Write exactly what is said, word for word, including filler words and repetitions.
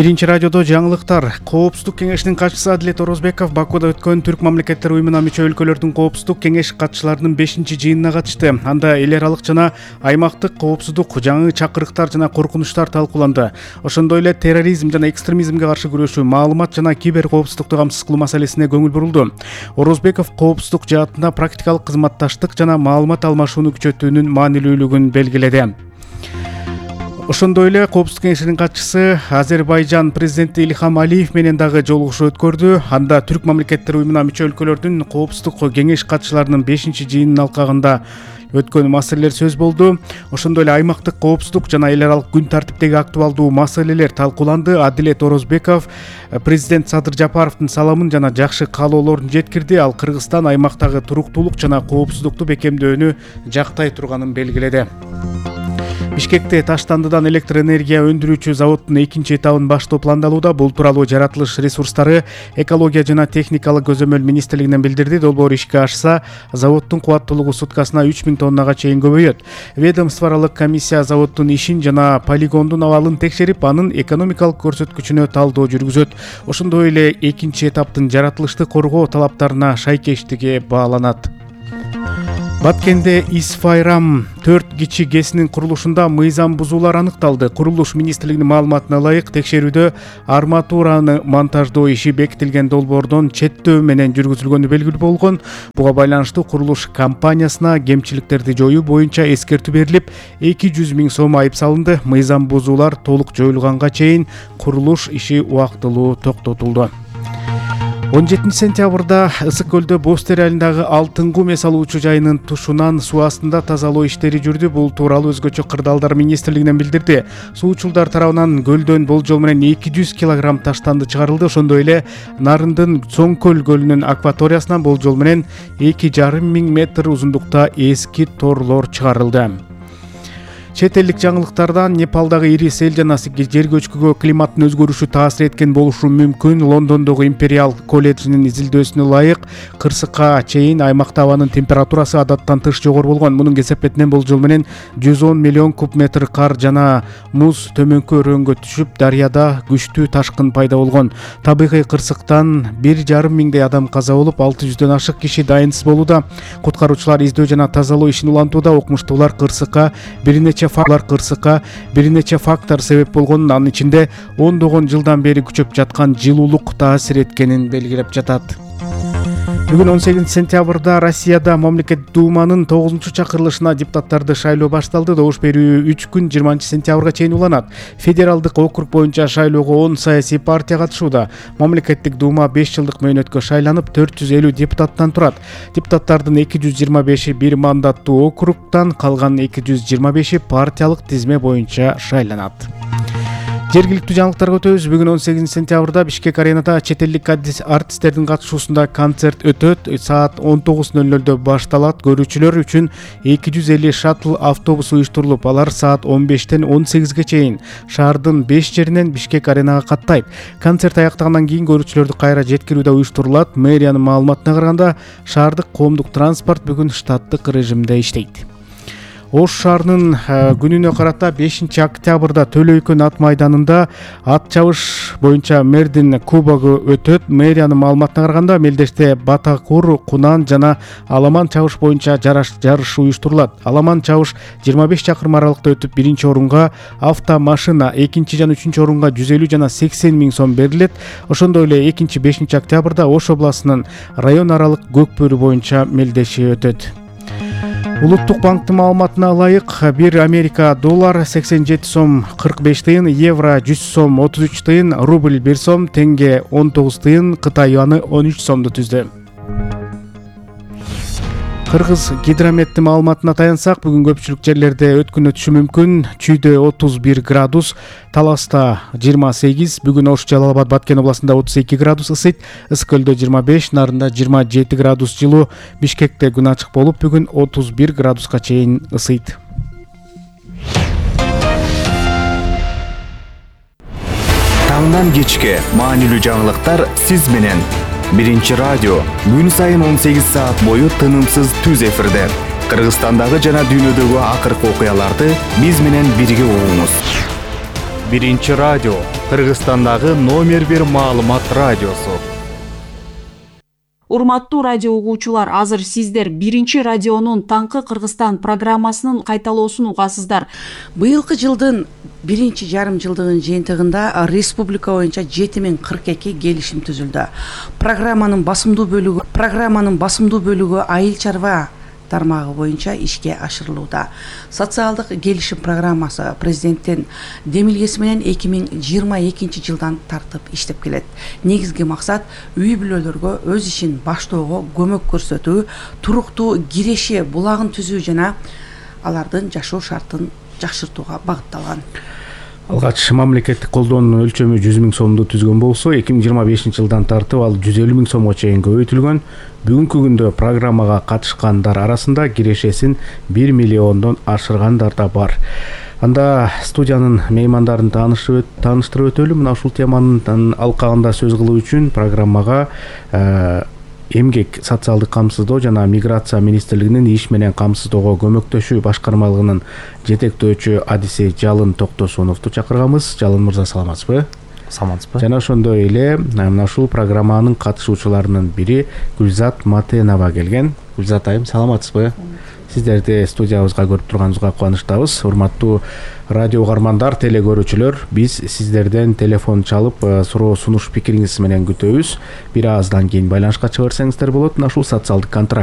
Биринчи радиодо жаңылыктар. Коопсуздук кеңешинин катчысы Адилет Орозбеков Бакууда өткөн Түрк мамлекеттер уюмуна мүчө өлкөлөрдүн коопсуздук кеңеш катчыларынын бешинчи жыйынына катышты. Анда эл аралык жана аймактык коопсуздук, жаңы чакырыктар жана коркунучтар талкууланды. Ошондой эле терроризм жана экстремизмге каршы күрөшүү, маалымат жана кибер коопсуздукту камсыз кылуу маселесине көңүл бурулду. Орозбеков коопсуздук жаатында практикалык кызматташтык жана маалымат алмашууну күчөтүүнүн маанилүүлүгүн белгиледи. Ошондой эле Коопсуздук кеңешинин катчысы Азербайжан президенти Ильхам Алиев менен дагы жолугушуу өткөрдү. Анда Түрк мамлекеттер уюмуна мүчө өлкөлөрдүн коопсуздук кеңеш катчыларынын бешинчи жыйынынын алкагында өткөн маселелер сөз болду. Ошондой эле аймактык коопсуздук жана эл аралык күн тартиптеги актуалдуу маселелер талкууланды. Адилет Орозбеков президент Садыр Жапаровдун саламын жана жакшы каалоолорун жеткирди. Ал Кыргызстан аймактагы туруктуулук жана коопсуздукту бекемдөөнү жактай турганын белгиледи. Бишкекте Таштандыдан электр энергия өндүрүүчү заводдун экинчи этабын баштоо пландалууда. Бул тууралуу жаратылыш ресурстары, экология жана техникалык көзөмөл министрлигинен билдирди. Долбоор ишке ашса, заводдун кубаттуулугу суткасына үч миң тоннага чейин көбөйөт. Ведомстволук комиссия заводдун ишин жана полигондун абалын текшерип, анын экономикалык көрсөткүчүнө талдоо жүргүзөт. Ошондой эле экинчи этаптын жаратылышты коргоо талаптарына шайкештиги бааланат. Баткенде Исфайрам төрт кичи ГЭСинин курулушунда мыйзам бузуулар аныкталды. Курулуш министрлигинин маалыматына ылайык, текшерүүдө арматураны монтаждоо иши бекитилген долбоордон четтөө менен жүргүзүлгөнү белгилүү болгон. Буга байланыштуу курулуш компаниясына кемчиликтерди жоюу боюнча эскертүү берилип, эки жүз миң сом айып салынды. Мыйзам бузуулар толук жоюлганга чейин курулуш иши убактылуу токтотулду. он жетинчи сентябрда Ысык көлдө Бостер айылындагы Алтынгум эс алуучу жайынын тушунан суу астында тазалоо иштери жүрдү. Бул тууралуу өзгөчө кырдаалдар министрлигинен билдирди. Суучулдар тарабынан көлдөн болжол менен эки жүз килограмм таштанды чыгарылды. Ошондой эле Нарындын Цоңкөл көлүнүн акваториясынан болжол менен эки жарым миң метр узундукта эски торлор чыгарылды. Чет элдик жаңылыктардан Непалдагы ири сел жана жер көчкүгө климаттын өзгөрүшү таасир эткен болушу мүмкүн. Лондондогу Империал колледжинин изилдөөсүнө ылайык, кырсыкка чейин аймакта абанын температурасы адаттан тыш жогору болгон. Мунун кесепетинен болжол менен жүз он миллион куб метр кар жана муз төмөнкү өрөөнгө түшүп, дарыяда күчтүү ташкын пайда болгон. Табигый кырсыктан бир жарым миңдей адам каза болуп, алты жүздөн ашык киши дайынсыз болууда. Куткаруучулар издөө жана тазалоо ишин улантууда. Окумуштуулар кырсыкка бир нече фактор кырсыкка бир нече фактор себеп болгонун, анын ичинде ондогон жылдан бери күчөп жаткан жылуулук таасир эткенин белгилеп жатат. Бүгүн он сегизинчи сентябрда Россияда Мамлекет Думанын тогузунчу чакырылышына депутаттарды шайлоо башталды. Добуш берүү үч күн жыйырманчы сентябрга чейин уланат. Федералдык округ боюнча шайлоого он саясий партия катышууда. Мамлекеттик Дума беш жылдык мөөнөткө шайланып, төрт жүз элүү депутаттан турат. Депутаттардын эки жүз жыйырма беши бир мандаттуу округтан, калган эки жүз жыйырма беши партиялык тизме боюнча шайланат. Жергиликтүү жаңылыктарга өтөбүз. Бүгүн он сегизинчи сентябрда Бишкек аренада чет элдик артисттердин катышуусунда концерт өтөт. Саат он тогуз ноль нолдо башталат. Көрүүчүлөр үчүн эки жүз элүү шаттл автобус уюштурулуп, алар саат он бештен он сегизге чейин шаардын беш жеринен Бишкек аренага каттайт. Концерт аяктагандан кийин көрүүчүлөрдү кайра жеткирүү да уюштурулат. Мэриянын маалыматына караганда, шаардык коомдук транспорт бүгүн штаттык режимде иштейт. Ош шаарынын күнүнө карата бешинчи октябрда Төлөйкөн ат майданында ат чабыш боюнча мэрдин кубогу өтөт. Мэриянын маалыматына караганда, мелдеште Батакур, Кунан жана Аламан чабыш боюнча жарыш уюштурулат. Аламан чабыш жыйырма беш чакырым аралыкта өтүп, биринчи орунга автомашина, экинчи жана үчүнчү орунга жүз элүү жана сексен миң сом берилет. Ошондой эле экинчи бешинчи октябрда Ош областынын район аралык көк бөрү боюнча мелдеши өтөт. Улуттук банктын маалыматына ылайык, бир Америка доллар сексен жети сом кырк беш тыйын, евро жүз сом отуз үч тыйын, рубль бир сом, тенге он тогуз тыйын, Кытай юаны он үч сомду түздү. Кыргыз гидрометтин маалыматына таянсак, бүгүн көпчүлүк жерлерде өткүн өтүшү мүмкүн. Чүйдө отуз бир градус, Таласта жыйырма сегиз, бүгүн Ош, Жалал Абад, Баткен областында отуз эки градус ысыйт, Ысык көлдө жыйырма беш, Нарында жыйырма жети градус жылуу, Бишкекте күн ачык болуп, бүгүн отуз бир градуска чейин ысыйт. Таңдан кечке маанилүү жаңылыктар сиз менен. Биринчи радио күн сайын он сегиз саат бою тынымсыз түз эфирде. Кыргызстандагы жана дүйнөдөгү акыркы окуяларды биз менен бирге угуңуз. биринчи радио, Кыргызстандагы номер бир маалымат радиосу. Урматтуу радио угуучулар, азыр сиздер биринчи радионун Таңкы Кыргызстан программасынын кайталоосун угасыздар. Быйылкы жылдын биринчи жарым жылдыгынын жыйынтыгында республика боюнча жети миң кырк эки келишим түзүлдү. Программанын басымдуу бөлүгү программанын басымдуу бөлүгү айыл чарба тармагы боюнча ишке ашырылууда. Социалдык келишим программасы президенттин демилгеси менен эки миң жыйырма экинчи жылдан тартып иштеп келет. Негизги максат үй бүлөлөргө өз ишин баштоого көмөк көрсөтүү, туруктуу киреши булагын түзүү жана алардын жашоо шартын жакшыртууга багытталган. Алгач мамлекеттик колдоонун өлчөмү жүз миң сомду түзгөн болсо, эки миң жыйырма бешинчи жылдан тартып ал жүз элүү миң сомго чейин көбөйтүлгөн. Бүгүнкү күндө программага катышкандар арасында кирешесин бир миллиондон ашыргандар да бар. Анда студиянын меймандарын тааныштырып өтөлү. Мына ушул теманын алкагында сөз кылуу үчүн программага эмгек, социалдык камсыздоо жана миграция министрлигинин иш менен камсыздоого көмөктөшүү башкармалыгынын жетектөөчү адиси Жалын Токтосуновду чакырганбыз. Жалын мырза, саламатсызбы? Саламатсызбы? Жана ошондой эле мына ушул программанын катышуучуларынын бири Гүлзат Матенова келген. Гүлзат айым, саламатсызбы? Сиздерди студиябызга көрүп турганыбызга кубанычтабыз. Урматтуу радио угармандар, теле көрүүчүлөр, биз сиздерден телефон чалып, суроо сунуш пикириңиз менен күтөбүз. Бир аздан кийин байланышка чыга берсеңиздер болот. Мына ушул социалдык контракт